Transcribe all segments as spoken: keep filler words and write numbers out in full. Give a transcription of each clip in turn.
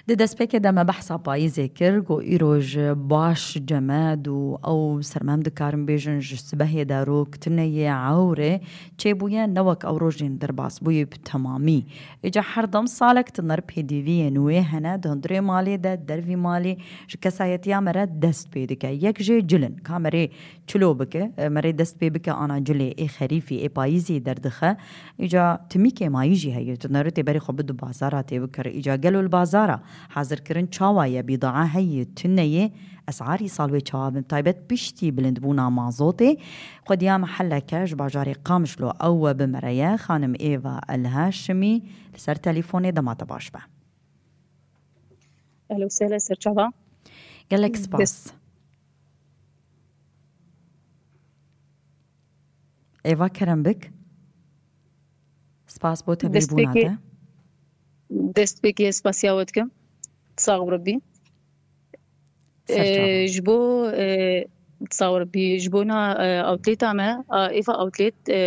Di destpêkê de me behsa payîzê kir, ku îro ji baş cemed û ew sermem dikarin bêjin ji sibehê de rok tune yê ewrê çêbûye, ne wek ew rojên derbas bûyî bi temamî. Îca her dem salek tu ner pêdiviyên wê hene, di hundirê malê de, dervî malê, ji kesayetiya me re dest pê dike. Yek jê cil in. Ka merê çilo bike, e, merê dest pê bike ana cilê ê xerîfî, ê payîzî derdixe. Îca timî kêmayî jî heye. Tu nerê tê berê xwe bidu bazara tê bikir. Îca gelo li bazara hazirkirin çawa ye, bîdaa heye, tune ye? Esarî sal wê çawa bin? Taybet piştî bilindbûna mazotê. Xwediya mehelleke ji bajarê Qamişlo ew we bi me re ye. Xanim Êva El Haşimî li ser telîfonê, dema te baş be. Ehlen we sehlen, serçava. Gelek spas. Êva, kerem bik. Spas bo tevlîbûna te. Destpêkê spasiya we dikim. Sax û rebî. Serçava. E, ji bo, e, sax û rebî, ji bo na, e, awtlêta me, a, êva awtlêt, e,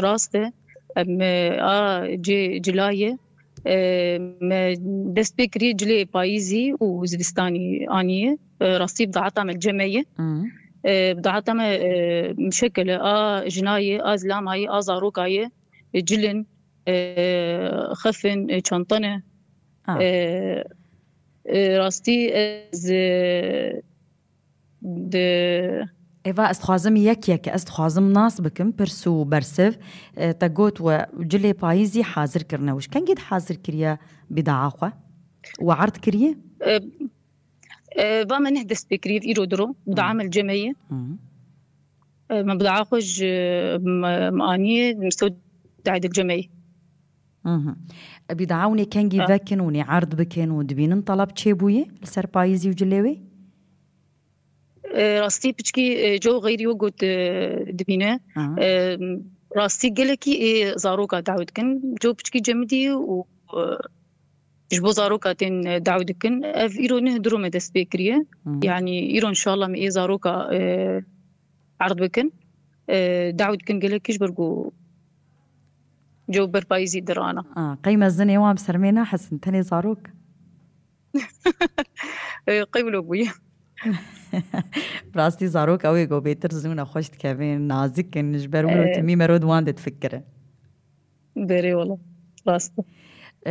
rast e. Em, e, a cê cila ye. E, me dest pê kiriye cilê payîzî û zivistanî aniye. E, rastî bidaeta me cem e ye. Hmm. E, bidaeta me, e, mişekil e, a jina ye, a zilama ye, a zaroka ye, e, cil in, e, xef in, e, çanta ne. Ah. E, e, rastî ez, e, di Êva, ez dixwazim yek yek, ez dixwazim nas bikim, pirs û bersiv. E, te got we cilê payîzî hazir kirine. Ji kengî de hazir kiriye bîdaa xwe? We erd kiriye? E, e, va me neh dest pê kiriye, îro diro, bidaa me li cem e ye. Hı. E, me bidaa xwe ji, me, me aniye, me stewr dayê di cem e ye. Mhm. Bîdaa hûn ê kengî vekin, hûn ê erd bikin û dibînin talab çêbûye li ser payîzî û cilê wê? E, rastî piçkî, e, co xeyrî wek got, e, dibîne. Aha. E, rastî gelekî ê zaroka dawî dikin. Co piçkî cemidî û, e, ji bo zaroka tên, e, dawî dikin. Ev îro neh diro me dest pê kiriye. Hı. Yanî îro înşallah me ê zaroka, e, erd bikin. E, dawî dikin gelekî ji ber ku co berpayîzî dirana. A, qey mezinê wan bi ser me nahesin, tenê zarok? E, qey wilo bûye. Rastî zarok ew ê ku bêtir zû ne xweş dikevin, nazik in, ji ber wilo E. timî mero di wan de difikire. Berê wala, rast e.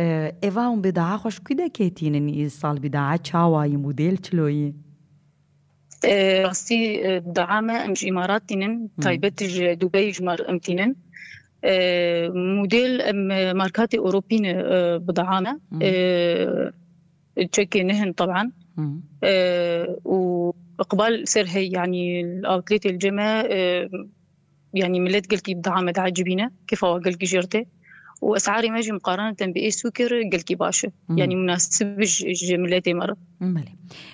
E, êva hûn bîdaa xwe ji ku de ketînin îsal, bîdaa çawa yî, model çilo yî? E, rastî, e, bîdaa me em ji Îmarat tînin, Hmm. taybet ji Dubey ji mar em tînin. E, model em, e, markatê Ewropî ne, e, bîdaa me. Hmm. E, çekê nihin taban. Hmm. E, û iqbal ser hey, yanî outletê li cem e, e, yanî millet gelkî bîdaa me diecibîne, kêfa wan gelkî jêr tê. Û esarê me jî muqarene tem bi ê sûkê re gelkî baş e. Hmm. Yanî munasib ji, ji milletê me re. Belê.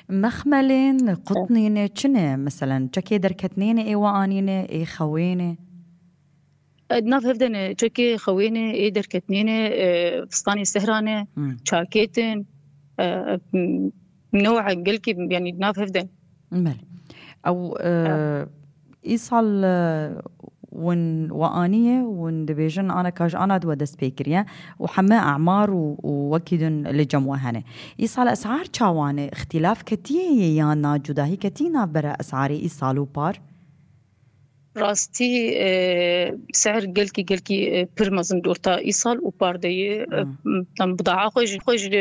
Mexmelên, qutnîne çi ne? Meselen, çekê derketnê ne ê we anîne, ê xewê ne? E, di nav hev de ne, çekê xewê ne, ê derketnê ne, e, fistanê sehra ne, Hmm. çakêt in, e, m-, new'a gelkî, yanî di nav hev de ne. Belê. Ew, e, Ha. îsal, e, win we aniye, win dibêjin ana ka ji ana di we dest pê kiriye û heme emar û, û wekî din li cem we hene. Îsal esar çawa ne? Îxtîlaf ketiye ye yan na cudahî ketî navbera esarê îsal û par? Rastî, e, ser gelkî, gelkî, e, pir mezin di orta îsal û par de ye. Hmm. E, em bîdaa xwe ji, xwe ji